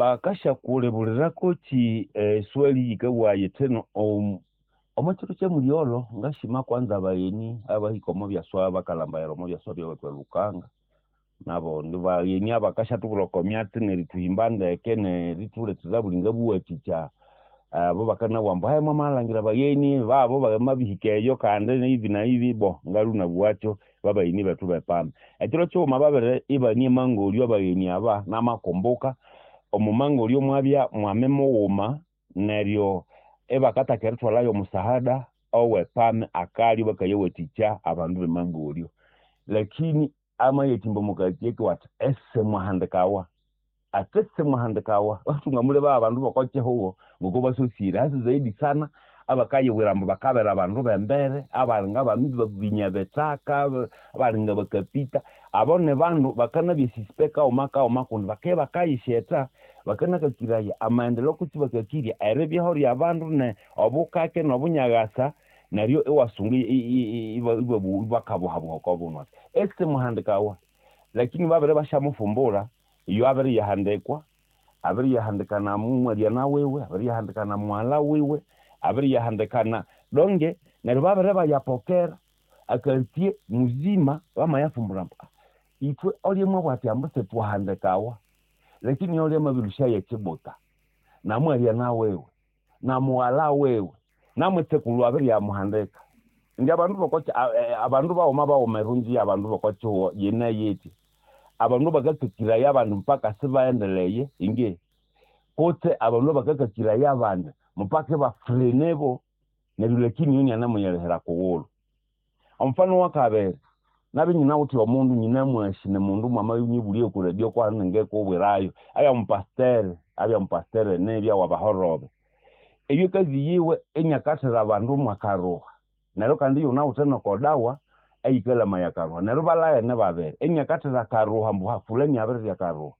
Bakasyakulebulira kwokyi eswali yikabugha yithi omo kiro kyamulyolho ngasima kwanza abagheni abahika omo byaswa bakalhambayira omo byaswa byawethu e Lukanga nabo nibagheni abakasyathubwira oko myatsi nerithuhimba ndeke nerithulethera buli ngabuwathikya. Abo bakanabugha ambu mwamalhangira abagheni babo bamabihika eyo kandi hivi na hivi bo ngalwe inabugha babagheni bethu bepambe. Ekiro kighuma babere ibane emangolyo abagheni aba namakumbuka omo mangolyo mwabya mwami mughuma neryo ibakathaka erithwalhayo omusahada owe PAM akalyo bakayawathikya abandu bemangolyo. Lakini amayathimba omo kartier kiwe athi esimwahandikawa ati simwahandikawa thungamuleba abandu bokokihugho ngoko basosire hasa zaidi sana abakayibwira ambu bakabera abandu bembere abalinga binyabithaka abalinga bakapita abo nibandu bakanabya suspect kaghuma kaghuma kundi bakabya bakayisyetha bakanakakiraya amaendeleo kutse bakakirya eribyaho lyabandu ne obukake nobunyaghasa neryo iwasunga ibakabuhabuha oko bundu ati esimuhandikawa. Lakini babere basyamufumbura iyo abiriyahandikwa abiriyahandika na mwalyana wiwe abiriyahandika na mughalha wiwe abiriyahandikana donge neryo babere bayapokera akartier muzima bamayafumbura ambu ithwe olyamwabugha athi ambu sithwahandikawa lakini olya amabilusyayo ekibuta namwalyana wiwe na mughalha wiwe namwitsekulhu abiriyamuhandika. Indi abandu bokokyi abandu baghuma baghuma erungi yabandu bokokihugho yine yithi abandu bakakakiraya abandi mpaka sibaendeleye inge kutse abandu bakakakiraya abandi mpaka ibafrenebo neryo lakini iyo inianemuyilihira kughulhu. Omufano wakabiri nabya inyinawithe omundu nyinamwasi nimundu mwamanyibulya oku radio kwahano ningikubwirayo abya mupasiteri abya mupasiteri nibya wabahorobe. Eyo kazi yiwe iniakathira abandu mwakaruha neryo kandi iyunawithe noko dawa eyikalamaya akaruha neryo ibalaghene babiri iniakathira akaruha ambu fulani abirirya akaruha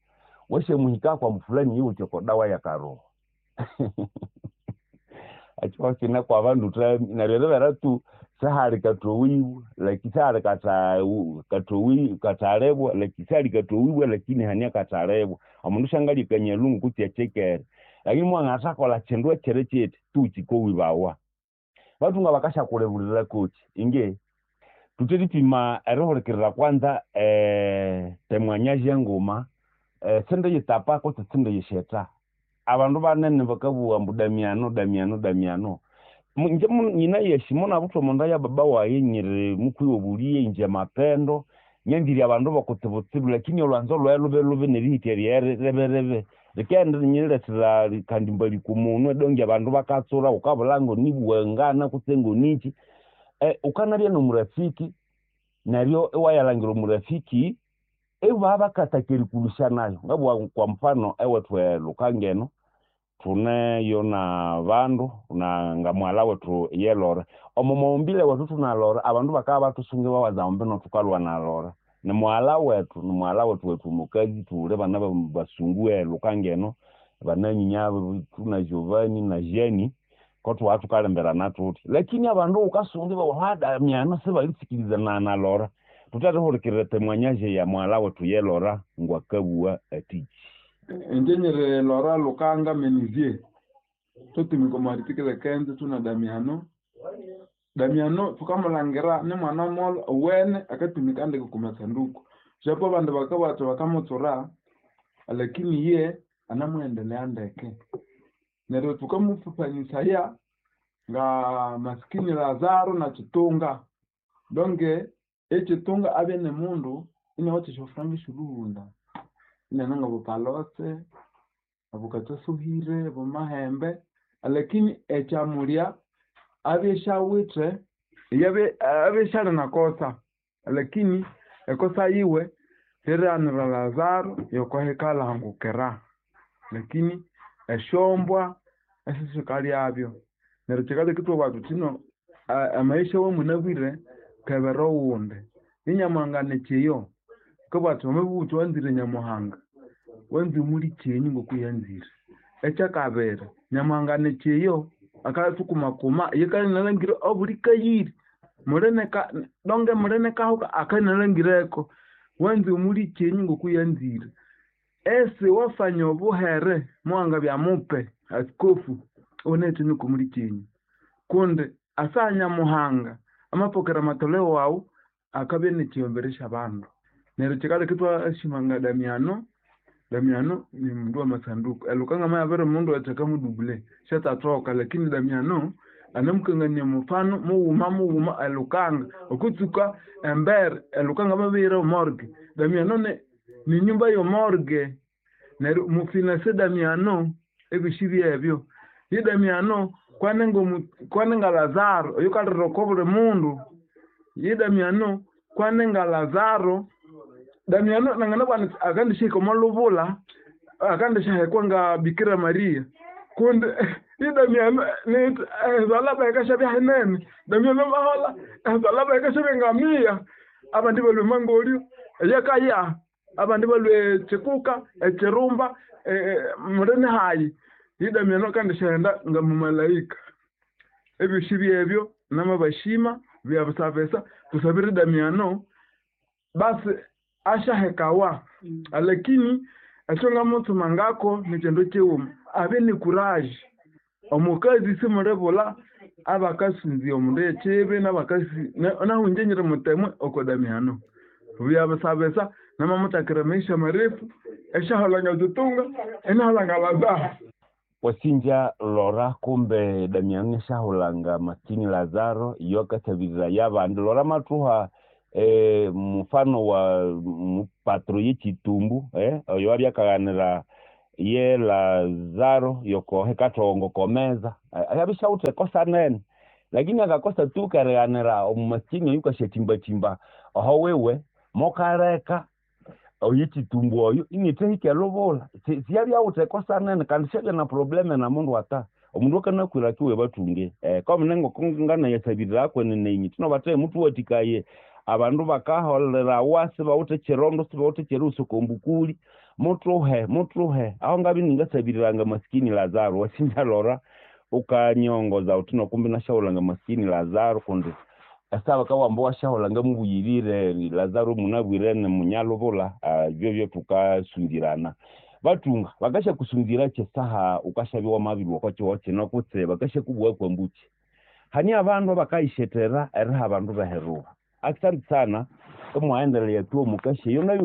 wasyamuhikako ambu fulani yiwithe oko dawa yakaruha. Ekihugho kine kwabandu thami neryo eribera tu sihali kathowiwe lakini sihali kathalibwa lakini sihali kathowiwe lakini hane akathalibwa. Omundu syangalya akanyalungu kutse ekyikere lakini mwanganathakolha kyindu ekyiri kyithi tu kyikowibawa. Bathunga bakasyakulebulira kwokyi inge thutheripima erihulikirira kwanza temwanyaje nguma sindiyitapa kutse sindiyisyetha. Abandu banene bakabugha ambu Damiano Damiano Damiano. Ingye nyinayasi munabuthwa omonda ya baba wayi nyiri mukwiwa obuliye ingye mapendo nyanzire abandu bokutsibutsibu lakini olwanzo lwayi lube nerihitya lyayi ribi likaghenda rinyilethera kandi mbali kumunwe donge abandu bakatsura wukabulha ngonibuwangana kutse ngonikyi. Wukanabya nomurafiki neryo iwayalhangira omurafiki ibabya bakathaka erikulusya nayo. Ngabugha kwa mfano ewethu e Lukanga eno thuneyo nabandu nga mughalha wethu ye Lora. Omo mawumbile wethu thuna Lora abandu bakabya bathusunga ibawaza ambu thukalhwa na Lora. Nimughalha wethu nimughalha wethu wethu mukazi thuli bana basungu e Lukanga eno bananyinya thuna Giovani na Jane kothwabya thukalemberana thuthi. Lakini abandu wukasunga ibabugha Damiano sibalisikilizana na Lora. Thuthe temwanyaje ya mughalha wethu ye Lora ngwakabugha athiki. Inje nyiri Lora Lukanga Menivier thutumika omo article kenzo thuna Damiano. Damiano thukamulhangira ni mwana molho owene akatumika ndeke okwa masanduku. Japo abandu bakabugha bathi bakamutsura lakini iye anamuendelea ndeke. Neryo thukamufufanyisaya nga masikini Lazaro na Kitunga. Donge ekitunga abye nimundu inawithe esyofuranga esyolhughunda inane ngabupalose, abukathasohire, abumahembe lakini ekyamulya abye isyawithe abye isyali nakosa lakini ekosa yiwe lyerighanira Lazaro yokwahikalhangukira lakini esyombwa esisikalyabyo. Neryo kyikaleka ithwabugha thuthi no amaisha awamunabwire kebera owundi. Ninyamuhanga nikyiyo akabugha athi wamabugha wuthi wanzire Nyamuhanga wanza omulikyenyu ngokuyanzire. Ekyakabiri Nyamuhanga nikyiyo akathukumakuma iye kalinalhangira obuli kayiri donge muli nikahuka akanalhangireko wanza omulikyenyu ngokuyanzire. Esi wafanya obuhere mwanga bya mupe askofu onete nukumuli chenyu kundi asanya muhanga amapokera matoleo wawu akabye nichiyomberesha bandu neryo chikale kitwa ashimanga Damiano. Damiano ni mundu wa masanduku elukanga mayabere mundu ataka mudubule shatatoka lakini Damiano anamukangania mufano muwuma muwuma elukanga okutsuka embere elukanga mabire morgue. Damiano ni nyumba yo morgue neryo mufinase Damiano ebishi byebyo ye Damiano kwanenga Lazaro oyo kaliroko buli mundu ye Damiano kwanenga Lazaro. Damiano nangana bwana akandishika molubula akandishahekwa nga Bikira Maria kundi ye Damiano ni zalaba yakashabya henene Damiano mahola zalaba yakashabya ngamia abandi balwe mangolio yakaya abandi balwe chikuka echirumba murene hayi ye Damiano akandishahenda nga mumalaika ebyo byebyo namabashima byabusabesa tusabire Damiano basi ashahekawa lakini achonga muthu mangako nichendo chiwuma abe ni courage omukazi simulebola abakasinzi omundu echibi nabakasi nahunjenyere mutemwe oko Damiano byabusabesa namamutakira maisha marefu eshaholanga zitunga enaholanga Lazaro. Wasinja lora kumbe Damiano shahulanga maskini Lazaro yokasabirira yabandu lora matuha mfano wa mpatro yechitumbu oyo abyakaganira ye Lazaro yoko hekatongo komeza ayabishaute kosa nene lakini akakosa tu kareganira omumaskini yukashetimba chimba aho wewe mokareka oyichitumbu oyo initehike lobola siyabyaute kosa nene kandi siyabya na probleme na mundu ata omundu akanakwira kiwe batunge komunengo kongana yasabirira kwenene inyi tino bate mutu watikaye abandu bakaholera wasi bawute chirondo sibawute chiruso kombukuli mutuhe aho ngabi ningasabiriranga maskini Lazaro. Wasinja lora ukanyongoza utino kumbi nashaulanga maskini Lazaro kundi asaba kawambo washaulanga mubuyirire Lazaro munabwirene munyalobola byobyo tukasundirana batunga bakasha kusunzira chesaha ukashabiwa mabirwa kwa chiwoche nokutse bakasha kubwa kwa mbuchi hani abandu bakayishetera eriha abandu baheruha. Asante sana mwaendelea tu mukashi yo nayo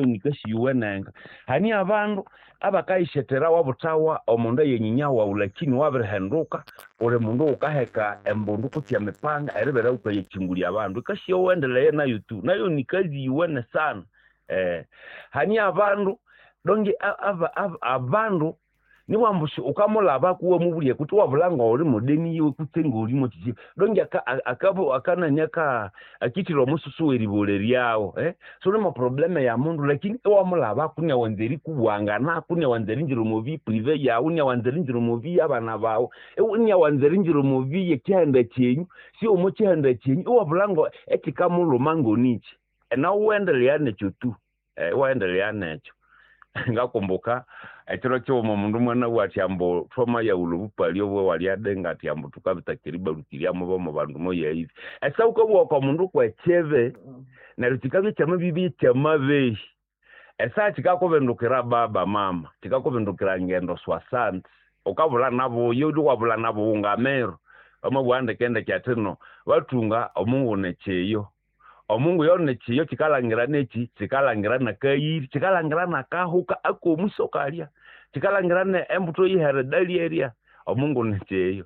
nikashi yuwenenga hani abandu abakayishetera wabutawa omundu yenyinya lakini wabirihenduka uri mundu ukaheka embundu kutya mipanga eribera ukayechingulya abandu kashi yo wendeleye nayo tu nayo nikazi yuwene sana hani abandu donge abandu niwambushi ukamulaba kuwe mubulie kuti wabulanga uri mudeni yiwe kutsenga uri mochichi donge akabo akananyaka akitiro mususu weribole ryawo so ni probleme ya mundu lakini wamulaba kunya wanzeri kubwangana kunya wanzeri njiro mubi prive ya unya wanzeri njiro mubi abana bawo unya wanzeri njiro mubi yekihanda chenyu si omo kihanda chenyu wabulanga ekikamuluma ngonichi na uendelea necho tu waendelea necho. Ngakumbuka ekiro kyoma mundu mwana wati ambo trauma ya ulubupali obwe wali adenga ati ambo tukabitakiriba rutiriamo bomo bandu moya hivi esa ukobwa kwa mundu kwecheve neryo kikabye kyamabibi kyamabehi esa kikakubendukira baba mama kikakubendukira ngendo swasante ukabula nabo yo wabula nabo ungamero amabwande kende kyatino batunga omungu necheyo omungu yone chiyo chikalangira nechi chikalangira nakayiri chikalangira nakahuka akomusokalya chikalangira ne embuto yihere dali area omungu necheyo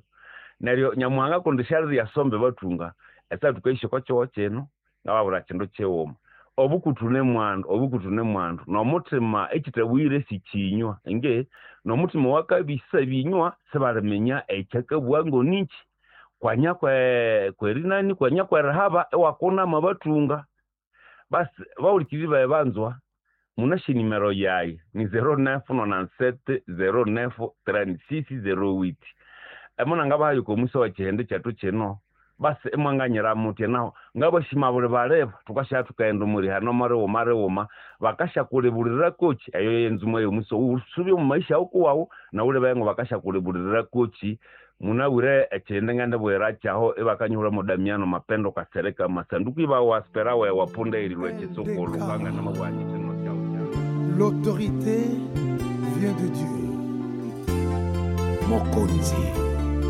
neryo nyamuhanga kundishariri yasombe batunga esa tukaisho kwacho cheno ngababura chindo chewoma obukutu ne mwandu nomutima ekitabwire sichinywa nge nomutima wakabisa binywa sebalemenya ekyakabwango nichi kwanya kwerinani kwanya kwerahaba ewakona mabatunga basi baulikiri babanzwa munashi nimero yayi ni 0997 09 36 08 emona ngabayo komusa wa chihende chatu chino basi emwanganyira mutye naho ngabashima buli baleba tukasha tukaenda muri hano mare bakasha kulebulira kochi eyo yenzumo yomuso usubye mu maisha okuwawo na ule bayengo bakasha kulebulira kochi munawire echende ngende bwera chaho ebakanyura mu Damiano Mapendo kasereka masanduku iba waspera we wapunde ilwe chisoko lukanga na mabwanyi teno chao chao. L'autorité vient de Dieu. Mokonzi.